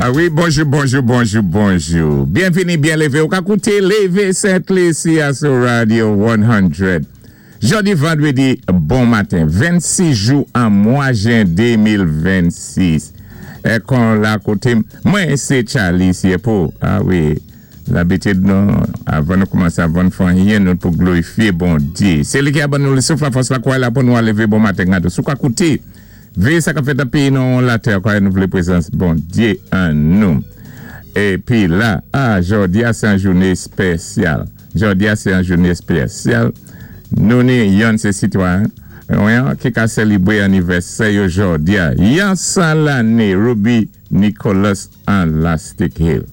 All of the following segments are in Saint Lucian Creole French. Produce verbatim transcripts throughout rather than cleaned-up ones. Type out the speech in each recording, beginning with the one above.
Ah wi, bonjou, bonjou, bonjou, bonjou. Byenvini, byen lévé. Ou ka kouté Lévé Sent-Lisi sou Radio san. Jòdi vandwédi, bon maten, vennsis jou an mwa jen de mil vennsis. É kon la koté, mwen sé Charlie Siepo. Ah wi, labitid nou, avan nou koumansé, avan nou fè anyen, nou pou glorifié Bondyé. Sé li ki a ban nou lé souf, lafòs, lakwa la pou nou lévé bon maten. Gado. Sou ka kouté, véyé sa k ap fèt nan péyi nou latè, kwa nou vlé prézans Bondyé an nou. Épi la, ah, jòdi a sé an jouné éspésyal. Jòdi a sé an jouné éspésyal. Nou ni yon sé sitwayen, yon ki ka sélébwé anivèsè yo jòdi a. Yon san lanné, Ruby Nicholas an Lastic Hill.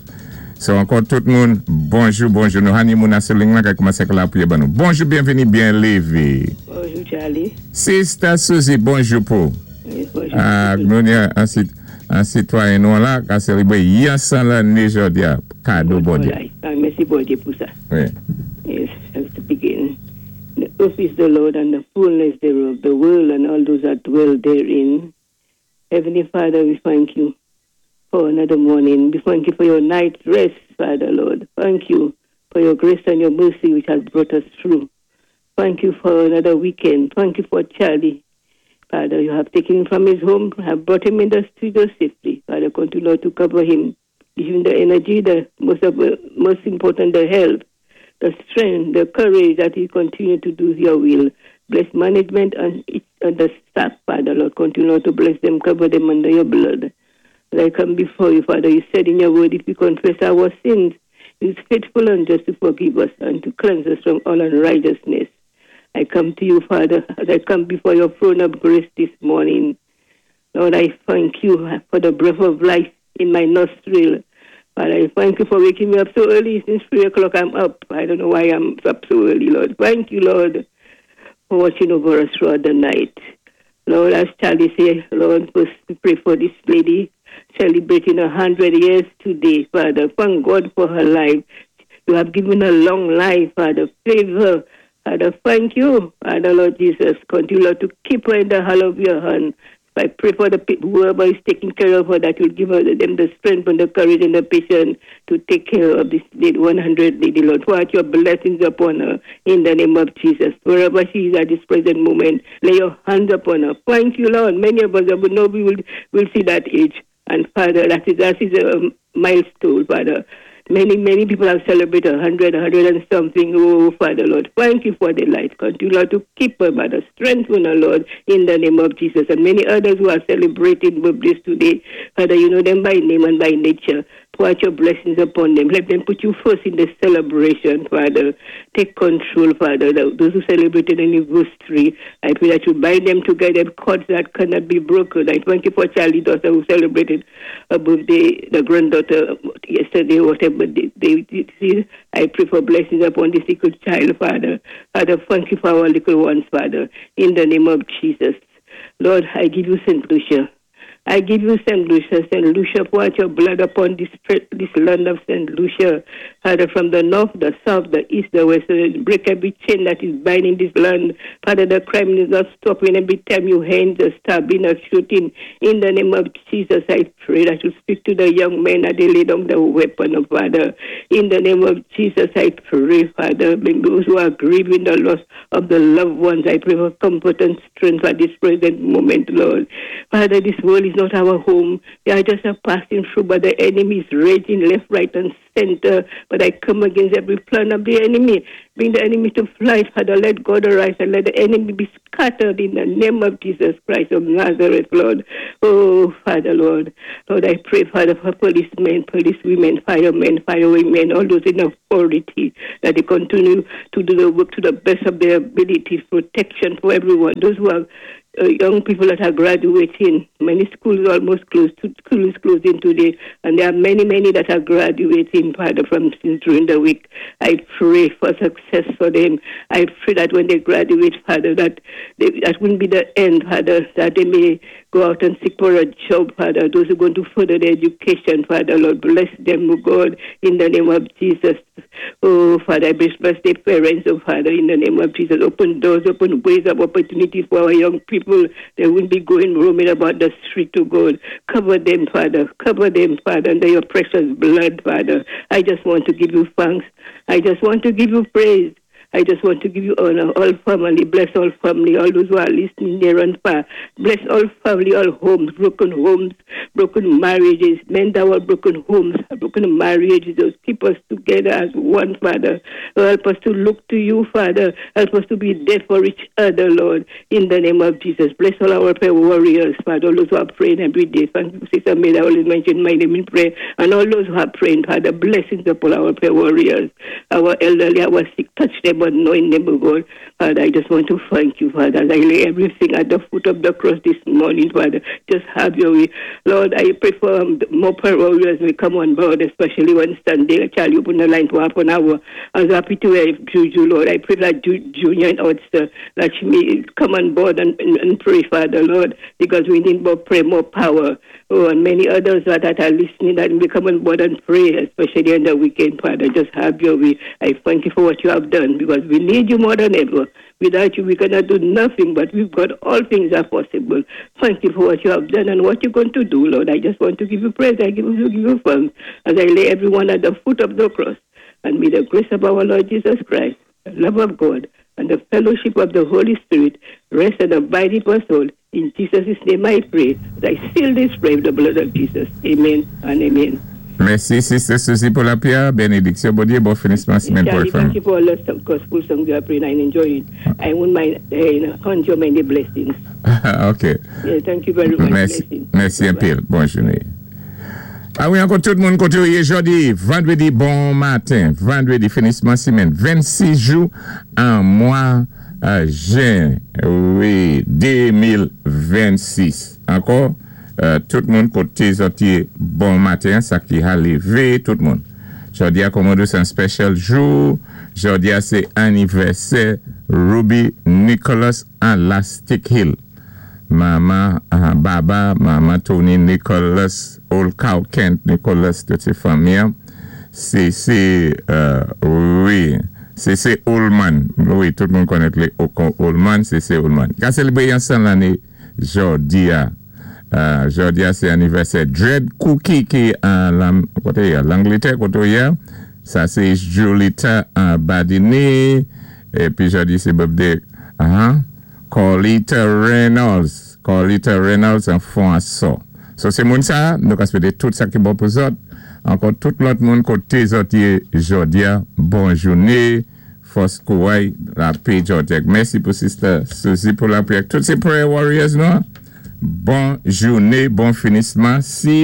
So ankò tout moun, bonjou, bonjou. Nou hani moun asou ling lan ka koumansé la pou ban nou. Bonjou, byenvini, byen lévé. Bonjou, Charlie. Sister Suzy, bonjou pou. Wi, bonjou. Ah, nou ni an, sit, an sitwayen nou la, ka sélébwé yon san lanné jòdi a. Kado Bondyé. Ah, mèsi Bondyé pou sa. Wi. Yes, have to begin. The earth is the Lord and the fullness thereof, the world and all those that dwell therein. Heavenly Father, we thank you for another morning. We thank you for your night rest, Father Lord. Thank you for your grace and your mercy which has brought us through. Thank you for another weekend. Thank you for Charlie. Father, you have taken him from his home, have brought him in the studio safely. Father, continue, Lord, to cover him, give him the energy, the most, of, most important, the help, the strength, the courage that he continue to do your will. Bless management and, each, and the staff, Father, Lord. Continue to bless them, cover them under your blood. As I come before you, Father, you said in your word, if we confess our sins, you is faithful and just to forgive us and to cleanse us from all unrighteousness. I come to you, Father, as I come before your throne of grace this morning. Lord, I thank you for the breath of life in my nostril. Father, I thank you for waking me up so early. Since three o'clock, I'm up. I don't know why I'm up so early, Lord. Thank you, Lord, for watching over us throughout the night. Lord, as Charlie said, Lord, first we pray for this lady celebrating a hundred years today, Father. Thank God for her life. You have given her long life, Father. Favor. Father, thank you, Father, Lord Jesus. Continue, Lord, to keep her in the hollow of your hand. I pray for the people, whoever is taking care of her, that you'll give her them the strength and the courage and the patience to take care of this lady, one hundred lady, Lord. Pour out your blessings upon her in the name of Jesus. Wherever she is at this present moment, lay your hands upon her. Thank you, Lord. Many of us will know we will, will see that age. And Father, that is, that is a milestone, Father. Many, many people have celebrated a hundred, a hundred and something. Oh, Father, Lord, thank you for the life. Continue, Lord, to keep her, Father. Strengthen her, Lord, in the name of Jesus. And many others who are celebrating birthdays today, Father, you know them by name and by nature. Pour out your blessings upon them. Let them put you first in the celebration, Father. Take control, Father. Those who celebrated anniversary, I pray that you bind them together, cords that cannot be broken. I thank you for Charlie daughter who celebrated a birthday, the granddaughter yesterday, whatever they, they did see. I pray for blessings upon this little child, Father. Father, thank you for our little ones, Father. In the name of Jesus. Lord, I give you Saint Lucia. I give you Saint Lucia. Saint Lucia, pour out your blood upon this, this land of Saint Lucia. Father, from the north, the south, the east, the west, break every chain that is binding this land. Father, the crime is not stopping. Every time you hand the stabbing or shooting. In the name of Jesus, I pray that you speak to the young men that they lay down the weapon, oh, Father. In the name of Jesus, I pray, Father, those who are grieving the loss of the loved ones, I pray for comfort and strength at this present moment, Lord. Father, this world is not our home. We are just a passing through, but the enemy is raging left, right, and center. But I come against every plan of the enemy. Bring the enemy to flight, Father. Let God arise and let the enemy be scattered in the name of Jesus Christ of Nazareth, Lord. Oh, Father, Lord. Lord, I pray, Father, for policemen, policewomen, firemen, firewomen, all those in authority, that they continue to do the work to the best of their ability, protection for everyone. Those who are uh, young people that are graduating. Many schools are almost closed. School is closing today, and there are many, many that are graduating, Father, from since during the week. I pray for success for them. I pray that when they graduate, Father, that they, that wouldn't be the end, Father, that they may go go out and seek for a job, Father. Those who are going to further their education, Father, Lord, bless them, oh God, in the name of Jesus. Oh, Father, bless, bless their parents, oh, Father, in the name of Jesus. Open doors, open ways of opportunities for our young people. They won't be going roaming about the street to God. Cover them, Father. Cover them, Father, under your precious blood, Father. I just want to give you thanks. I just want to give you praise. I just want to give you honor, all family, bless all family, all those who are listening near and far. Bless all family, all homes, broken homes, broken marriages, mend our broken homes, broken marriages. Just keep us together as one, Father. Help us to look to you, Father. Help us to be there for each other, Lord, in the name of Jesus. Bless all our prayer warriors, Father, all those who are praying every day. Thank you, Sister May, I always mention my name in prayer. And all those who are praying, Father, blessings upon our prayer warriors, our elderly, our sick, touch them, anoint them, oh God. Father, I just want to thank you, Father, as I lay everything at the foot of the cross this morning, Father. Just have your way. Lord, I pray for um, more prayer warriors will come on board, especially when Sunday, Charlie open the line for half an hour. I was happy to hear Juju, Lord. I pray that Ju- Junior and Oyster, that she may come on board and, and, and pray, Father, Lord, because we need more prayer, more power. Oh, and many others that, that are listening that may come on board and pray, especially on the weekend, Father. Just have your way. I thank you for what you have done because we need you more than ever. Without you, we cannot do nothing, but we've got all things are possible. Thank you for what you have done and what you're going to do, Lord. I just want to give you praise. I give you, give you thanks as I lay everyone at the foot of the cross. And may the grace of our Lord Jesus Christ, the love of God, and the fellowship of the Holy Spirit rest and abide with us all. In Jesus' name I pray. I seal this prayer with the blood of Jesus. Amen and amen. Mèsi, Sister Susie, pou lapriyè. Bénédiksyon, Bondyé, bon finisman sémèn pou Charlie, thank you for all the gospel songs you are praying. I enjoy it. I won't mind uh, count your many blessings. OK. Yeah, thank you very much. Mèsi, Blessings. mèsi anpil. Bonn jounen. A wi, ankò tout moun koté jòdi, vandrédi, bon maten, vandrédi, finisman sémèn, vennsis jou an mwa euh, jen, wi, de mil vennsis. Ankò, euh, tout moun koté zòt yé, bon maten, sa ki a lévé, tout moun. Jòdi a, kòm sé yon special jou. Jòdi a, sé anivèsè Ruby Nicholas an Lastic Hill. Mama uh, Baba, Mama Tony Nicholas, Old Cow Kent Nicholas, tout sé fanmi. Sé, sé, euh, wi, sé, sé Oldman. Wi, tout moun konnèt lé Oldman, sé, sé Oldman. Ka sélébré yon san lanné, jòdi a, euh, jòdi a, sé anivèsè Dread Cookie ki an, koté Langlétè, koté sa sé Julita an Badine, épi jòdi sé birthday, uh -huh, Carlita Reynolds, Carlita Reynolds an fon aso. So sé moun sa, nou ka swété tout sa ki bon pou zòt. Ankò tout lòt moun koté zòt yé jòdi a, bon jounen, fòs kouway, lapè Jòjek. Mèsi pou Sister Susie pou lapriyè. Tout sé prayer warriors nou. Bon jounen, bon finisman. Si